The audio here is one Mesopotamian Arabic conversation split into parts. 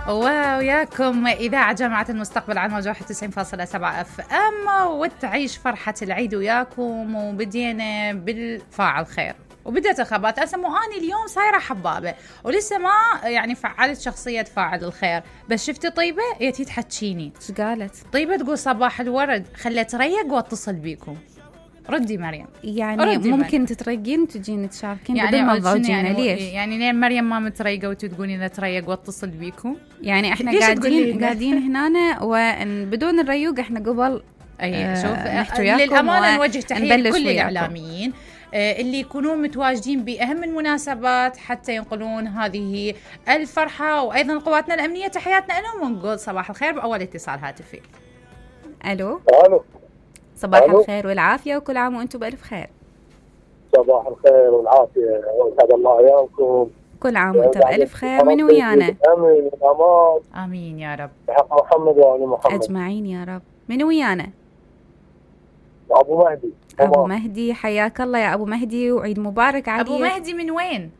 وياكم إذاعة جامعة المستقبل عن موجة 91.7 FM، وتعيش فرحة العيد وياكم. وبدينا بالفاعل خير وبدأت الخبات. أسمو أني اليوم صايرة حبابة ولسه ما يعني فعلت شخصية فاعل الخير، بس شفتي طيبة يتي تحكيني. ايش قالت؟ طيبة تقول صباح الورد، خليت ريق واتصل بيكم. ردي مريم. يعني ردي ممكن مريم. تتريقين وتجين تشاركين يعني بدون ما تضوجينا يعني ليش؟ يعني ليه مريم ما متريقة وتقولين نتريق واتصل بيكم؟ يعني احنا قاعدين هنا وبدون الريوق احنا قبل شوف للأمانة نوجه تحية لكل الإعلاميين اللي يكونون متواجدين بأهم المناسبات حتى ينقلون هذه الفرحة، وأيضا قواتنا الأمنية تحياتنا لهم، ونقول صباح الخير بأول اتصال هاتفي. ألو. صباح الخير والعافية وكل عام وأنتم بألف خير. صباح الخير والعافية وسعد الله أيامكم. كل عام وأنتم بألف خير. من ويانا؟ آمين الأمان. آمين يا رب. بحق محمد وآل محمد أجمعين يا رب. من ويانا؟ أبو مهدي. أبو مهدي، حياك الله يا أبو مهدي وعيد مبارك عليك. أبو مهدي من وين؟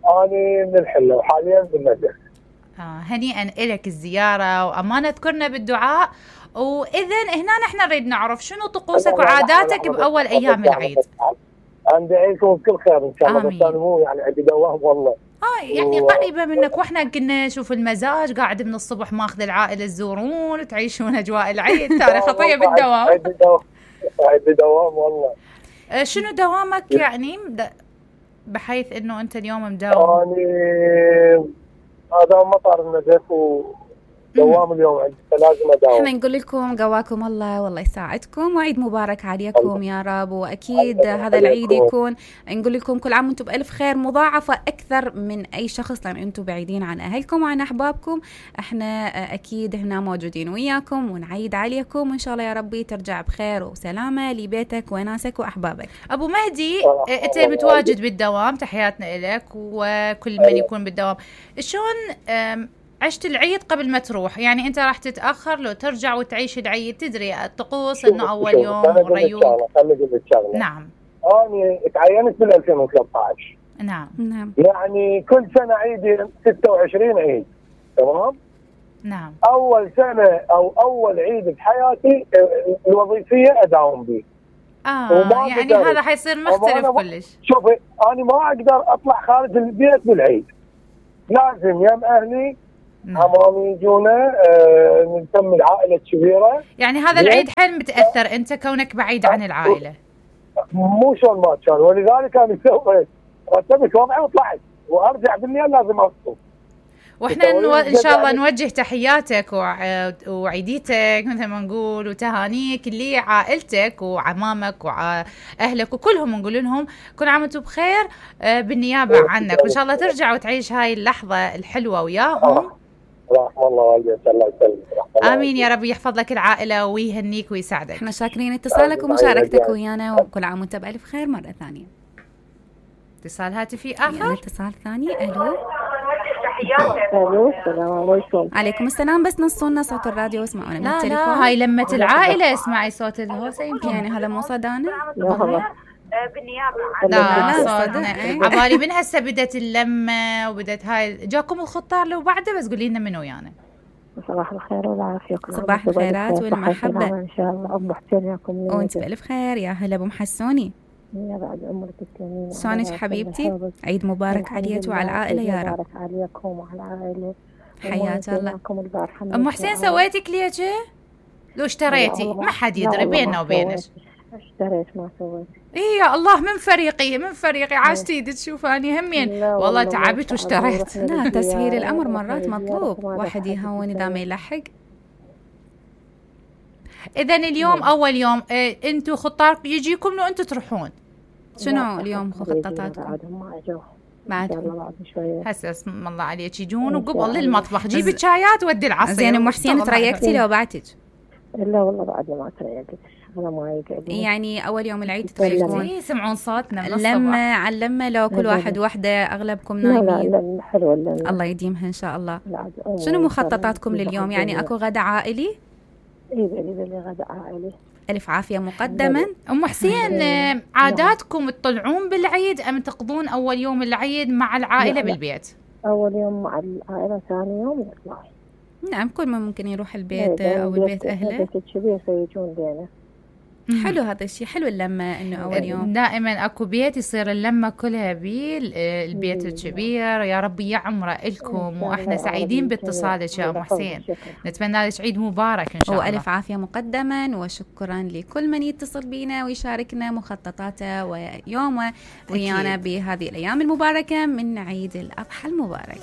أنا من الحلة وحاليا بالنجف. هنيئا إلك الزيارة وأمانة تذكرنا بالدعاء. وإذن هنا نحن نريد نعرف شنو طقوسك وعاداتك بأول أيام العيد. عندي عيدكم بكل خير إن شاء الله. بس أنا مو يعني عندي دوام والله. يعني قريبة منك، وإحنا كنا نشوف المزاج قاعد من الصبح ماخذ العائلة تزورون تعيشون أجواء العيد. ترى خطية بالدوام. عندي دوام والله. شنو دوامك يعني بحيث إنه أنت اليوم مداوم؟ هذا مطار النجف دوام اليوم عندي فلازم اداوم. احنا نقول لكم قواكم الله والله يساعدكم وعيد مبارك عليكم يا رب. واكيد هذا العيد يكون نقول لكم كل عام وانتم بالف خير مضاعفه اكثر من اي شخص، لان انتم بعيدين عن اهلكم وعن احبابكم. احنا اكيد هنا موجودين وياكم ونعيد عليكم، وان شاء الله يا ربي ترجع بخير وسلامه لبيتك وناسك واحبابك. ابو مهدي انت متواجد بالدوام، تحياتنا لك وكل من يكون بالدوام. شلون عشت العيد قبل ما تروح؟ يعني انت راح تتاخر لو ترجع وتعيش العيد، تدري الطقوس انه اول يوم والريوق. نعم. انا تعينت من 2013. نعم. يعني كل سنه عيدي 26 عيد، تمام؟ نعم. اول سنه او اول عيد بحياتي الوظيفيه اداوم به. يعني هذا حيصير مختلف كلش. شوفي انا ما اقدر اطلع خارج البيت بالعيد، لازم يم اهلي عمامي يجونا نسمي العائلة الكبيرة. يعني هذا العيد حيل متأثر أنت كونك بعيد عن العائلة. مو شلون ما كان، ولذلك أنا سويت رتبت وضعي وطلعت وأرجع بالليل لازم أفطر. واحنا إن شاء الله نوجه تحياتك وعيديتك مثل ما نقول وتهانيك لعائلتك وعمامك وأهلك وكلهم، نقول لهم كل عام وانتم بخير بالنيابة عنك، وإن شاء الله ترجع وتعيش هاي اللحظة الحلوة وياهم. رحم الله والديك الله يسلمك. آمين يا رب، يحفظ لك العائلة ويهنيك ويساعدك. احنا شاكرين اتصالك ومشاركتك ويانا، وكل عام وانت بألف خير مرة ثانية. اتصال هاتفي آخر. اتصال ثاني. ألو. السلام عليكم. عليكم السلام، بس نصونا صوت الراديو واسمعونا من التليفون. لا هاي لمة العائلة، اسمعي صوت الهوسة يمكن. يعني هذا مو صدانا؟ بالنيابة لا صوتنا. عبالي من هسه بدت اللمة وبدت هاي، جاكم الخطار لو بعده بس قولي لنا من ويانا. صباح الخير والعافية. صباح الخيرات والمحبة إن شاء الله. أبو حسين ياكم وانت بألف خير. يا هلا أبو محسوني، يا بعد عمرك تسلمين. شلونك حبيبتي؟ عيد مبارك عليك وعلى العائلة يا رب. مبارك عليكم وعلى العائلة. حياك الله. أم حسين سويتي كليجة؟ لو اشتريتي ما حد يدري بيننا وبينك. اشتريت ما سويت. إيه يا الله، من فريقي عاشتي تشوفاني همين والله تعبت واشتريت. لا تسهيل الأمر مرات مطلوب، واحد يهون إذا ما يلحق. إذن اليوم أول يوم أنتوا خطار يجيكم لو أنتوا تروحون. شنو اليوم خططاتكم؟ بعد شوية. هسه اسم الله عليك يجون وقبل للمطبخ جيبي الشايات ودي العصير. زين أم حسين تريقتي لو بعتك؟ لا والله بعد ما تريقت. يعني أول يوم العيد تريقون؟ يسمعون صوتنا من لما علمة لو كل واحد وحدة أغلبكم نايمين؟ لا حلوة. الله يديمها إن شاء الله. شنو مخططاتكم لليوم؟ يعني أكو غدا عائلي؟ إيه بلي غدا عائلي. ألف عافية مقدما. أم حسين عاداتكم تطلعون بالعيد أم تقضون أول يوم العيد مع العائلة بالبيت؟ أول يوم مع العائلة، ثاني يوم نطلع. نعم، كل ما ممكن يروح البيت أو البيت أهله. البيت الكبير فيجون بينه. حلو هذا الشيء، حلو اللمة إنه أول يوم. دائما أكو بيت يصير اللمة كلها بالبيت الكبير. يا ربي يعمره لكم، وإحنا سعيدين باتصالك يا أم حسين. نتمنى لك عيد مبارك إن شاء الله. وألف عافية مقدما، وشكرا لكل من يتصل بينا ويشاركنا مخططاته ويومه ويانا بهذه الأيام المباركة من عيد الأضحى المبارك.